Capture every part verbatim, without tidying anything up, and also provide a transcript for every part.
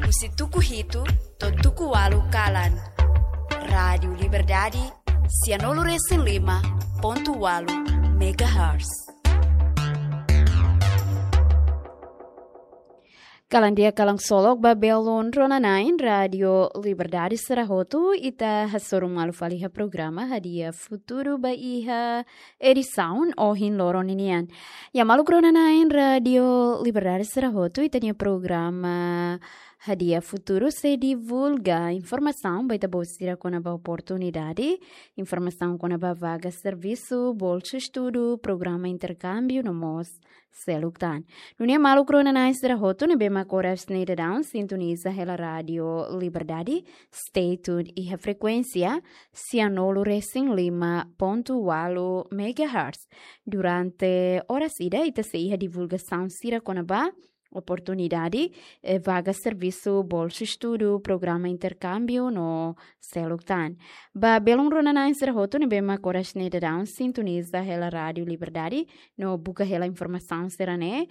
Husi tuku hitu to'o tuku ualu kalan. Rádiu Liberdade, sianulu resin lima pontu ualu megahertz. Kalan di'ak, kalan ksolok ba belun rona-na'in Rádiu Liberdade sira hotu, ita hasoru malu fali iha programa Hadi'a Futuru ba iha edisaun ohin loron ninian. Ya, maluk rona-na'in Rádiu Liberdade sira hotu, ita-nia programa Hadi'a Futuru sei divulga informasaun ba ita-boot sira kona-ba oportunidade, informasaun kona-ba vaga servisu, bolsa estudu, programa interkámbiu no mós seluk tan. Nune'e maluk rona-na'in sira hotu ne'ebé mak oras ne'e daudaun sintoniza hela Rádiu Liberdade, stay tuned iha frekuénsia sianulu resin lima pontu ualu megahertz. Durante oras ida ita sei iha divulgasaun sira kona-ba oportunidade, eh, vaga servisu, bolsa estudu, programa interkámbiu no seluk tan. Ba belun rona-na'in sira hotu ne'ebé mak oras ne'e daudaun sintoniza hela Rádiu Liberdade no buka hela informasaun sira-ne'e,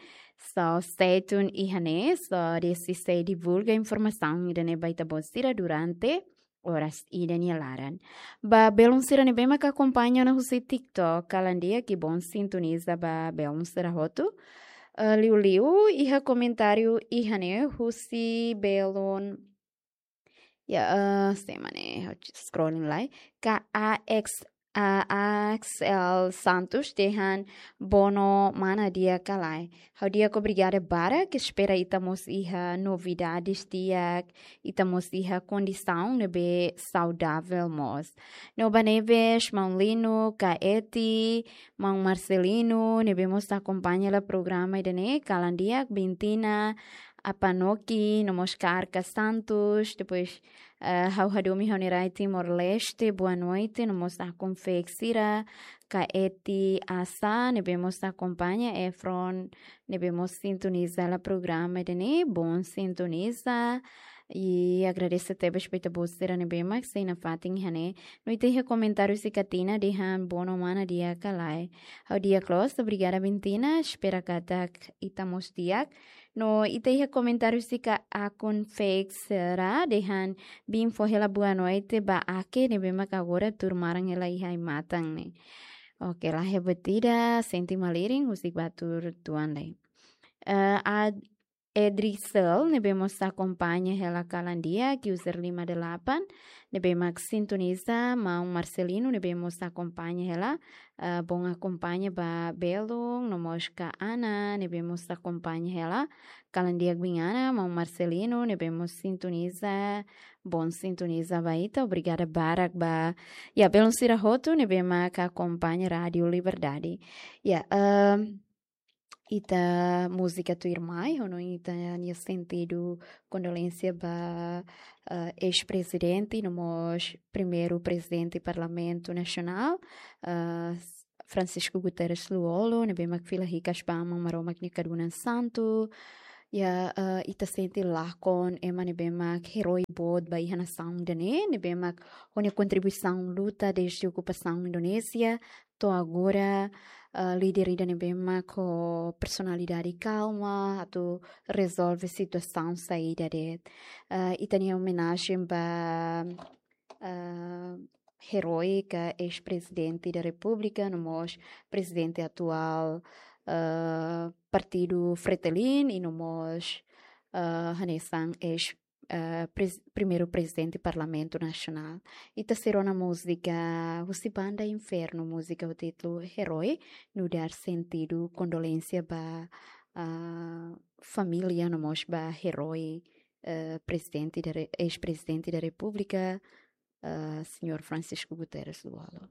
so stay tuned iha ne'e, so ita sei divulga informasaun ida-ne'e ba ita-boot sira durante oras ida nia laran. Ba belun sira ne'ebé mak akompaña ona husi TikTok, kalan di'ak, ki'ik-boot sintoniza ba belun sira hotu. Eh, liuliu iha komentáriu iha ne'e husi belun, ya, eh, sé mak ne'e, ha'u scrolling lai. K A X, eh, Axel Santos dehan: Bono mana, di'ak ka lae? Ha'u di'ak, obrigada barak, espera ita mós iha novidades di'ak, ita mós iha kondisaun ne'ebé saudavel mós. No ba ne'ebé, maun Lino, Kaeti, maun Marcelino, ne'ebé mós akompaña hela programa ida-ne'e, kalan di'ak, Bintina, Apanoki, no mós Karka Santos, depois, eh, ha'u hadomi ha'u-nia rai Timor-Leste, boa noite, no mós akun fe'ek sira, Kaeti Asa, ne'ebé mós akompaña, Efron, ne'ebé mós sintoniza hela programa ida-ne'e, boon sintoniza, i agradese tebes ba ita-boot sira ne'ebé mak sei nafatin iha ne'e. No ita iha komentáriu husi Katina dehan: Bono mana, di'ak ka lae? Ha'u di'ak loos, obrigada Bintina, espera katak ita mós di'ak. No ita iha komentáriu husi akun fe'ek sira dehan: Bin fó hela boa noite ba Ake ne'ebé mak agora tuur maran hela iha ai-matan ne'e. Oke, laiha buat ida, sente malirin, husik ba tuur tuan lai. Eh, Ad-, Edrisel, ne'ebé mós akompaña hela kalan di'ak, user lima delapan, ne'ebé mak sintoniza, maun Marcelino, ne'ebé mós akompaña hela, eh, boon akompaña ba belun, no mós Ka Ana, ne'ebé mós akompaña hela kalan di'ak, bin Ana, maun Marcelino, ne'ebé mós sintoniza, boon sintoniza ba ita, obrigada barak ba, ya, belun sira hotu ne'ebé mak akompaña Rádiu Liberdade. Ya, ehm, ita múzika tuirmai, ho ita-nia sentidu kondolénsia ba, eh, eis-prezidente, no mós primeiru prezidente Parlamentu Nasionál, eh, Francisco Guterres Lú-Olo, ne'ebé mak fila hikas ba Aman Maromak nia kadunan santu. Ya, eh, ita sente lakon ema ne'ebé mak herói boot ba iha nasaun ida-ne'e, ne'ebé mak ho nia kontribuisaun luta dezde okupasaun Indonézia to'o agora, eh, líder ida ne'ebé mak ho personalidade kalma atu rezolve situasaun saida de'it. Eh, ita-nia omenajen ba, eh, herói ka eis-prezidente da Repúblika, no mós prezidente atuál, eh, Partidu Fretilin, i no mós, eh, hanesan eis, eh, pres-, primeiru prezidente Parlamentu Nasionál. Ita sei rona múzika husi banda Infernu, múzika ho títulu Herói, nu'udar sentidu kondolénsia ba, ah, família, no mós ba herói, eh, prezidente da Re-, eis-prezidente da Repúblika, eh, señór Francisco Guterres Lú-Olo.